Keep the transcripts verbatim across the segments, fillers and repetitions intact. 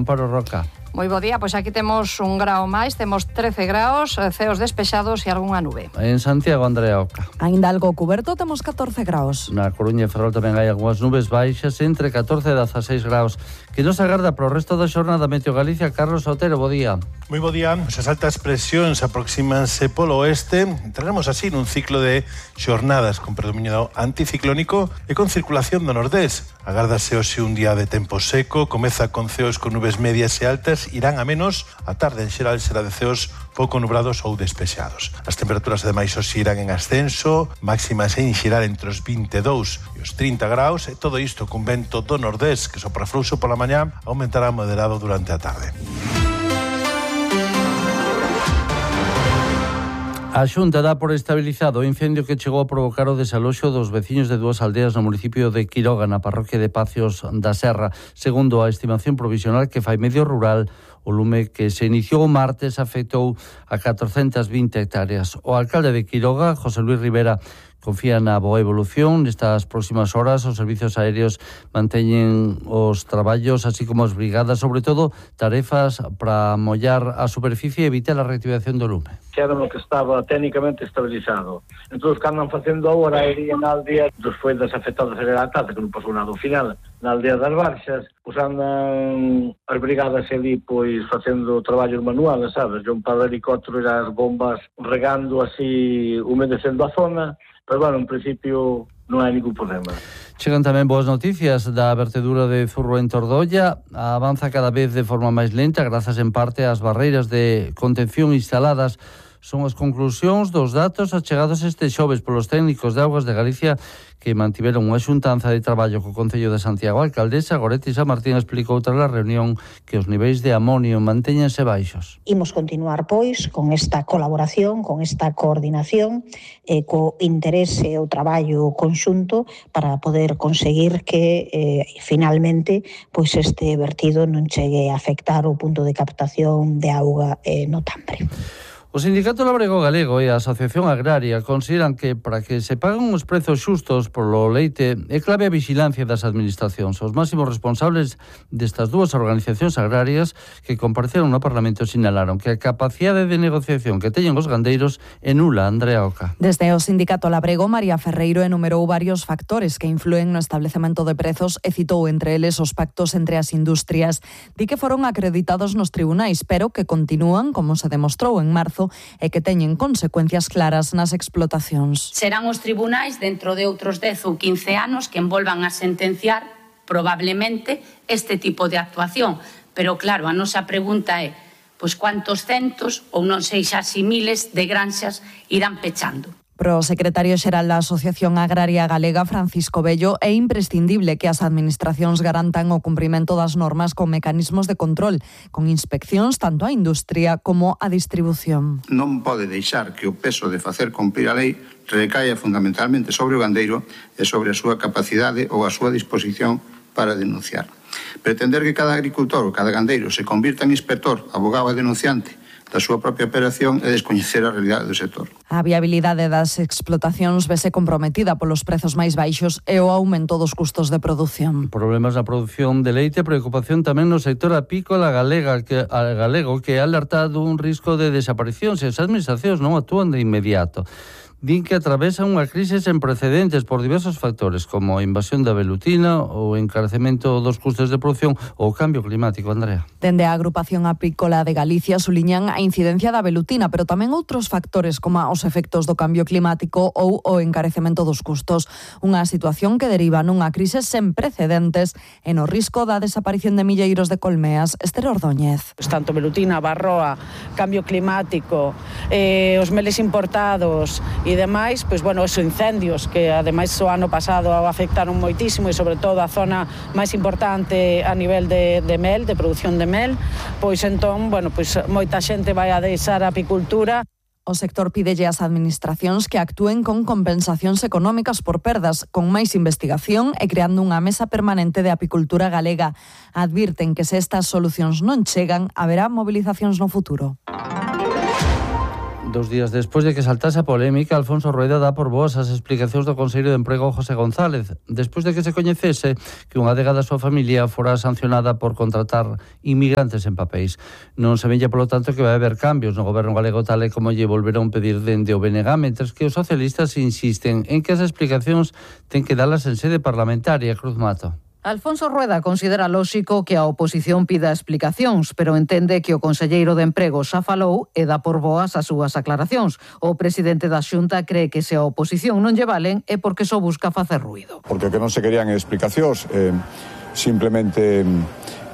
Amparo Roca. Moi bo día, pois aquí temos un grao máis, temos trece graos, ceos despexados e algunha nube. En Santiago, Andrea Oca. Ainda algo cuberto, temos catorce graos. Na Coruña e Ferrol tamén hai algunhas nubes baixas, entre catorce e dezaseis graos. Que nos agarda pro resto da xornada Meteo Galicia, Carlos Otero, bo día. Moi bo día, as altas presións aproxímanse polo oeste. Entraremos así nun ciclo de xornadas con predominio anticiclónico e con circulación do nordés. Agárdase hoxe un día de tempo seco, comeza con ceos con nubes medias e altas, irán a menos, a tarde en xeral será de ceos pouco nubrados ou despexados. As temperaturas ademais hoxe irán en ascenso, máximas en xeral entre os vinte e dous e os trinta graus, e todo isto con vento do nordés que sopra fluxo pola mañá, aumentará moderado durante a tarde. A Xunta dá por estabilizado o incendio que chegou a provocar o desaloxo dos veciños de dúas aldeas no municipio de Quiroga, na parroquia de Pacios da Serra. Segundo a estimación provisional que fai Medio Rural, o lume que se iniciou o martes afectou a catrocentas vinte hectáreas. O alcalde de Quiroga, José Luis Rivera, confía na boa evolución. Nestas próximas horas os servizos aéreos manteñen os traballos, así como as brigadas, sobre todo tarefas para mollar a superficie e evitar a reactivación do lume. Era no que estaba técnicamente estabilizado. Entón, que andan facendo agora iría na aldea dos foidas afectados a la tarde, que non pasou nada ao final, na aldea das Barxas, pois andan as brigadas ali, pois, facendo traballos manuales, sabes? Un par de helicópteros e as bombas regando así, humedecendo a zona. Pero, bueno, en principio non hai ningún problema. Chegan tamén boas noticias da vertedura de Zurro en Tordolla. Avanza cada vez de forma máis lenta, grazas en parte ás barreiras de contención instaladas. Son as conclusións dos datos achegados este xoves polos técnicos de Augas de Galicia que mantiveron unha xuntanza de traballo co Concello de Santiago. A alcaldesa Goretti San Martín explicou tras a reunión que os niveis de amonio mantéñense baixos. Imos continuar, pois, con esta colaboración, con esta coordinación, eh, co interese o traballo conxunto para poder conseguir que eh, finalmente pois este vertido non chegue a afectar o punto de captación de auga eh, no Tambre. O Sindicato Labrego Galego e a Asociación Agraria consideran que para que se paguen os prezos xustos polo leite é clave a vixilancia das administracións. Os máximos responsables destas dúas organizacións agrarias que compareceron no Parlamento sinalaron que a capacidade de negociación que teñen os gandeiros é nula. Andrea Oca. Desde o Sindicato Labrego, María Ferreiro enumerou varios factores que influen no establecemento de prezos e citou entre eles os pactos entre as industrias. Di que foron acreditados nos tribunais, pero que continúan, como se demostrou en marzo, e que teñen consecuencias claras nas explotacións. Serán os tribunais dentro de outros dez ou quince anos que envolvan a sentenciar probablemente este tipo de actuación. Pero claro, a nosa pregunta é pois cuántos centos ou non sei xa si miles de granxas irán pechando. Pro secretario xeral da Asociación Agraria Galega, Francisco Bello, é imprescindible que as administracións garantan o cumprimento das normas con mecanismos de control, con inspeccións tanto á industria como á distribución. Non pode deixar que o peso de facer cumprir a lei recaia fundamentalmente sobre o gandeiro e sobre a súa capacidade ou a súa disposición para denunciar. Pretender que cada agricultor ou cada gandeiro se convirta en inspector, abogado e denunciante da súa propia operación e descoñecer a realidade do sector. A viabilidade das explotacións vese comprometida polos prezos máis baixos e o aumento dos custos de produción. Problemas na produción de leite, preocupación tamén no sector apícola galega, que, a galego que ha alertado un risco de desaparición se as administracións non actúan de inmediato. Din que atravesan unha crise sen precedentes por diversos factores, como a invasión da velutina, o encarecemento dos custos de produción ou o cambio climático. Andrea. Dende a Agrupación Apícola de Galicia suliñan a incidencia da velutina, pero tamén outros factores como os efectos do cambio climático ou o encarecemento dos custos. Unha situación que deriva nunha crise sen precedentes e no risco da desaparición de milleiros de colmeas. Esther Ordóñez. Tanto velutina, barroa, cambio climático, eh, os meles importados e demais, pois bueno, esos incendios que ademais o ano pasado afectaron moitísimo e sobre todo a zona máis importante a nivel de, de mel, de produción de mel, pois entón, bueno, pois moita xente vai a deixar a apicultura. O sector pídelle ás administracións que actúen con compensacións económicas por perdas, con máis investigación e creando unha mesa permanente de apicultura galega. Advirten que se estas solucións non chegan, haberá movilizacións no futuro. Dos días despois de que saltase a polémica, Alfonso Rueda dá por boas as explicacións do Conselleiro de Emprego José González, despois de que se coñecese que unha adega da súa familia fora sancionada por contratar inmigrantes en papéis. Non se vella, polo tanto, que vai haber cambios no goberno galego, tal e como lle volveron pedir dende o B N G, mentres que os socialistas insisten en que as explicacións ten que dalas en sede parlamentaria. Cruz Mato. Alfonso Rueda considera lóxico que a oposición pida explicacións, pero entende que o conselleiro de Emprego xa falou e dá por boas as súas aclaracións. O presidente da Xunta cree que se a oposición non lle valen é porque só busca facer ruído. Porque o que non se querían explicacións, eh, simplemente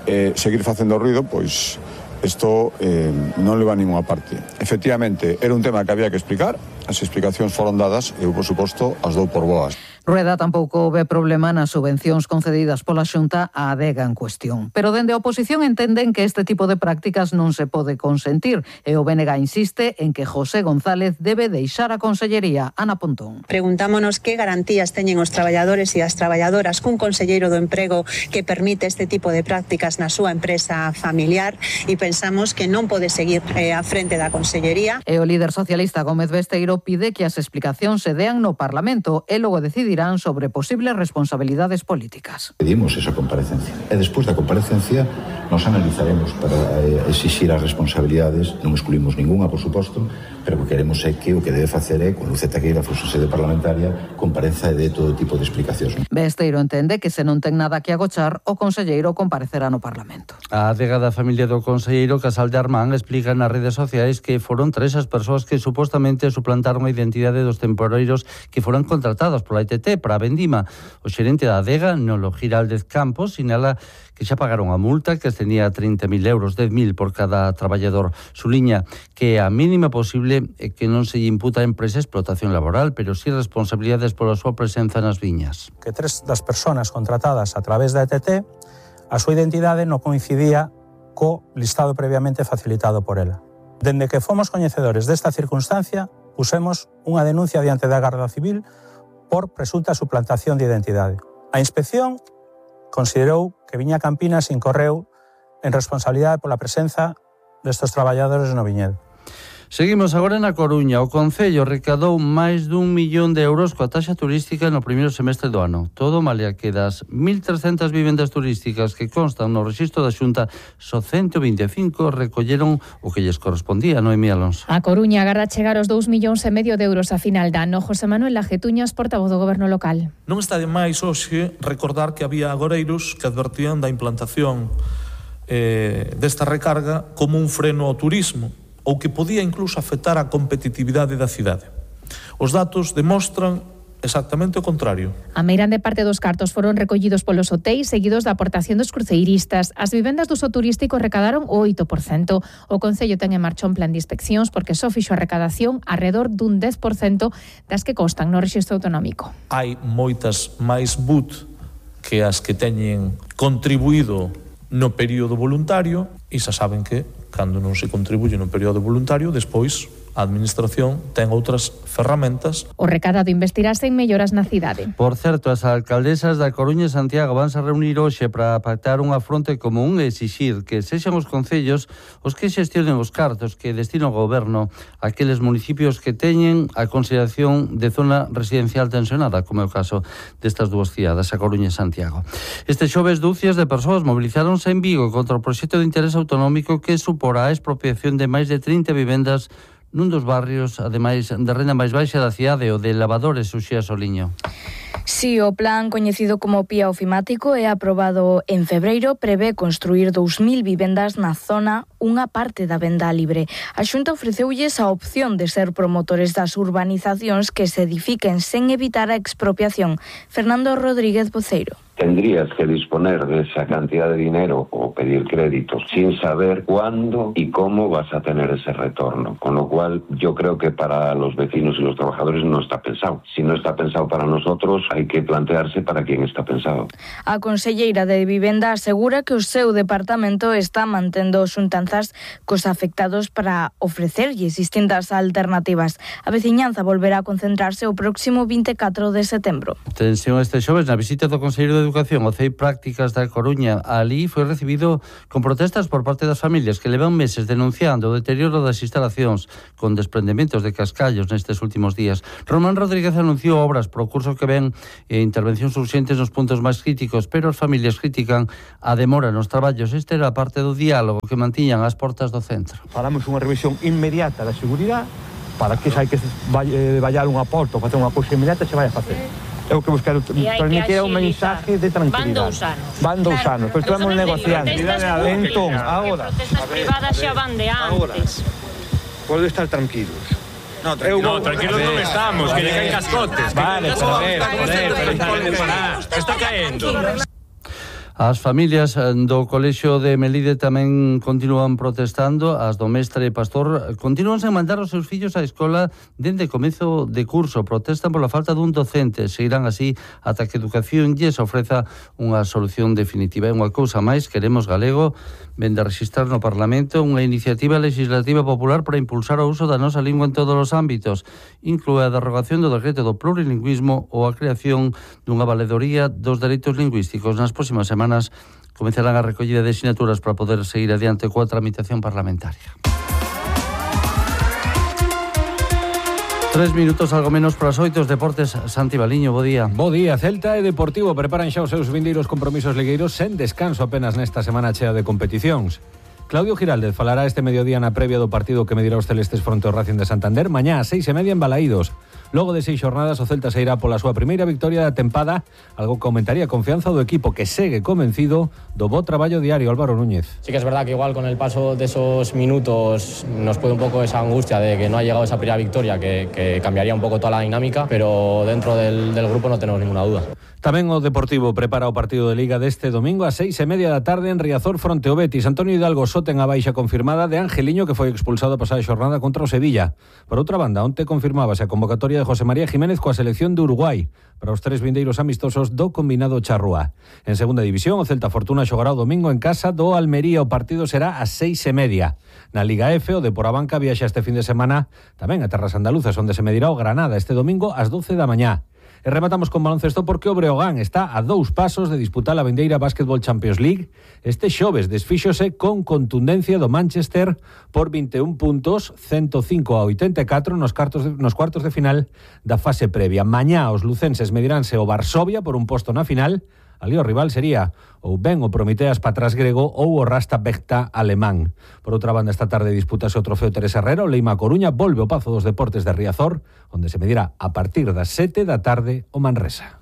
eh, seguir facendo ruído, pois isto eh, non leva a ninguna parte. Efectivamente, era un tema que había que explicar, as explicacións foron dadas e eu, por suposto, as dou por boas. Rueda tampouco ve problema nas subvencións concedidas pola Xunta á adega en cuestión. Pero dende a oposición entenden que este tipo de prácticas non se pode consentir e o B N G insiste en que José González debe deixar a consellería. Ana Pontón. Preguntámonos que garantías teñen os traballadores e as traballadoras cun conselleiro do emprego que permite este tipo de prácticas na súa empresa familiar e pensamos que non pode seguir eh, á frente da consellería. E o líder socialista Gómez Besteiro pide que as explicacións se dean no Parlamento e logo decidir sobre posibles responsabilidades políticas. Pedimos esa comparecencia e despois da comparecencia nos analizaremos para exixir as responsabilidades. Non excluímos ninguna, por suposto, pero o que queremos é que o que debe facer é, con Luceta Queira, fosse sede parlamentaria, compareza e de todo tipo de explicacións. Besteiro entende que se non ten nada que agochar, o conselleiro comparecerá no Parlamento. A adega da familia do conselleiro Casal de Armán explica nas redes sociais que foron tres as persoas que supostamente suplantaron a identidade dos temporeiros que foran contratados pola I T T para a vendima. O xerente da adega, Nolo Giraldez Campos, sinala que xa pagaron a multa que ascendía a trinta mil euros, dez mil por cada traballador. Suliña que a mínima posible é que non se lle imputa a empresa explotación laboral, pero si responsabilidades pola súa presenza nas viñas. Que tres das persoas contratadas a través da E T T, a súa identidade non coincidía co listado previamente facilitado por ela. Dende que fomos coñecedores desta circunstancia, pusemos unha denuncia diante da Garda Civil por presunta suplantación de identidade. A inspección considerou que Viña Campinas incorreu en responsabilidade pola presenza destes traballadores no viñedo. Seguimos agora na Coruña. O Concello recadou máis dun millón de euros coa taxa turística no primeiro semestre do ano. Todo malia que das mil trescentas vivendas turísticas que constan no rexistro da Xunta, só ciento vinte e cinco recolleron o que lles correspondía, Noemí Alonso. A Coruña agarda chegar os dous millóns e medio de euros a final de ano. José Manuel Lajetuñas, portavoz do Goberno local. Non está de máis hoxe recordar que había agoreiros que advertían da implantación eh, desta recarga como un freno ao turismo, ou que podía incluso afectar a competitividade da cidade. Os datos demostran exactamente o contrario. A meirande parte dos cartos foron recollidos polos hotéis, seguidos da aportación dos cruceiristas. As vivendas do uso turístico recadaron o oito por cento. O Concello ten en marcha un plan de inspeccións porque só fixo a recadación arredor dun dez por cento das que constan no rexistro autonómico. Hai moitas máis B U T que as que teñen contribuído no período voluntario e xa saben que cando non se contribuye no período voluntario, despois a Administración ten outras ferramentas. O recadado investirase en melloras na cidade. Por certo, as alcaldesas da Coruña e Santiago vanse a reunir hoxe para pactar unha fronte común e exixir que sexan os concellos os que xestionen os cartos que destina o goberno a aqueles municipios que teñen a consideración de zona residencial tensionada, como é o caso destas dúas cidades, a Coruña e Santiago. Este xoves, dúcias de persoas movilizáronse en Vigo contra o proxecto de interés autonómico que suporá a expropiación de máis de trinta vivendas nun dos barrios, ademais de renda máis baixa da cidade, o de Lavadores, Uxía Soliño. Si, o plan coñecido como P I A ofimático é aprobado en febreiro, prevé construir dous mil vivendas na zona, unha parte da venda libre. A Xunta ofreceulles a opción de ser promotores das urbanizacións que se edifiquen sen evitar a expropiación. Fernando Rodríguez Boceiro. Tendrías que disponer de esa cantidad de dinero o pedir créditos sin saber cuándo y cómo vas a tener ese retorno. Con lo cual, yo creo que para los vecinos y los trabajadores no está pensado. Si no está pensado para nosotros, menos hai que plantearse para quen está pensado. A conselleira de Vivenda asegura que o seu departamento está mantendo xuntanzas cos afectados para ofrecerlles distintas alternativas. A veciñanza volverá a concentrarse o próximo vinte e catro de setembro. Tensión este xoves na visita do Conselleiro de Educación ao C E I Prácticas da Coruña. Ali foi recibido con protestas por parte das familias que levan meses denunciando o deterioro das instalacións con desprendementos de cascallos nestes últimos días. Román Rodríguez anunciou obras pro curso que ven e intervencións urxentes nos puntos máis críticos, pero as familias critican a demora nos traballos. Este era parte do diálogo que mantiñan as portas do centro. Falamos unha revisión inmediata da seguridade para que xa hai que vallar unha porta ou facer unha cousa inmediata se vai a facer. É o que buscar transmitir un mensaje de tranquilidade. Van dous anos. Van dous anos, pero estamos negociando. Entón, agora, as privadas xa van de antes. Pode estar tranquilos. No, tranquilo, no, tranquilos non estamos, que lle caen cascotes. Vale, pero a ver, joder, está caendo. As familias do Colexio de Melide tamén continúan protestando. As do Mestre Pastor continúan sen mandar os seus fillos á escola dende comezo de curso. Protestan pola falta dun docente. Seguirán así ata que Educación lles ofreza unha solución definitiva. E unha cousa máis, Queremos Galego vende a registrar no Parlamento unha iniciativa legislativa popular para impulsar o uso da nosa lingua en todos os ámbitos. Inclúe a derrogación do decreto do plurilingüismo ou a creación dunha valedoría dos dereitos lingüísticos. Nas próximas semanas comenzarán a recollida de sinaturas para poder seguir adiante coa tramitación parlamentaria. Tres minutos, algo menos para as oito, os deportes. Santi Baliño, bo día. Bo día. Celta e Deportivo preparan xa os seus vindeiros compromisos ligueiros sen descanso apenas nesta semana chea de competicións. Claudio Giraldez falará este mediodía na previa do partido que medirá os celestes fronte ao Racing de Santander mañá a seis e media en Balaídos. Logo de seis xornadas, o Celta se irá pola súa primeira victoria da tempada, algo que aumentaría a confianza do equipo que segue convencido do bo traballo diario. Álvaro Núñez. Sí que es verdad que igual con el paso de esos minutos nos puede un poco esa angustia de que no ha llegado esa primera victoria que, que cambiaría un poco toda la dinámica, pero dentro del, del grupo no tenemos ninguna duda. Tamén o Deportivo prepara o partido de Liga deste domingo a seis e media da tarde en Riazor fronte ao Betis. Antonio Hidalgo só ten a baixa confirmada de Angeliño, que foi expulsado a pasada xornada contra o Sevilla. Por outra banda, onte confirmábase a convocatoria de José María Jiménez coa selección de Uruguai para os tres vindeiros amistosos do combinado charrúa. En segunda división, o Celta Fortuna xogará o domingo en casa do Almería. O partido será a seis e media. Na Liga F, o Depor Abanca viaxa este fin de semana tamén a terras andaluzas, onde se medirá o Granada este domingo ás doce da mañá. E rematamos con baloncesto porque o Breogán está a dous pasos de disputar a vindeira Basketball Champions League. Este xoves desfíxose con contundencia do Manchester por vinte e un puntos, ciento cinco a oitenta e catro nos, cartos de, nos cuartos de final da fase previa. Mañá os lucenses mediránse o Varsovia por un posto na final. Ali o rival sería ou ben o Prometeas Patras grego ou o Rasta Bechta alemán. Por outra banda, esta tarde disputase o trofeo Teresa Herrera. O Leima Coruña volve ao Pazo dos Deportes de Riazor, onde se medirá a partir das sete da tarde o Manresa.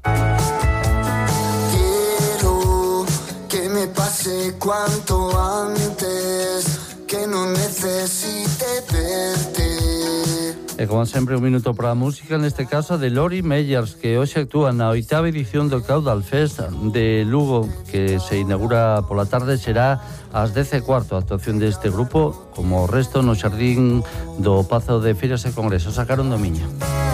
Quiero que me pase cuanto antes, que non necesite verte. E como sempre, un minuto para a música, neste caso de Lori Meyers, que hoxe actúa na oitava edición do Caudal Fest de Lugo, que se inaugura pola tarde, será ás dez e cuarto. A actuación deste grupo, como o resto, no xardín do Pazo de Feiras e Congresos. Sacaron do Miño.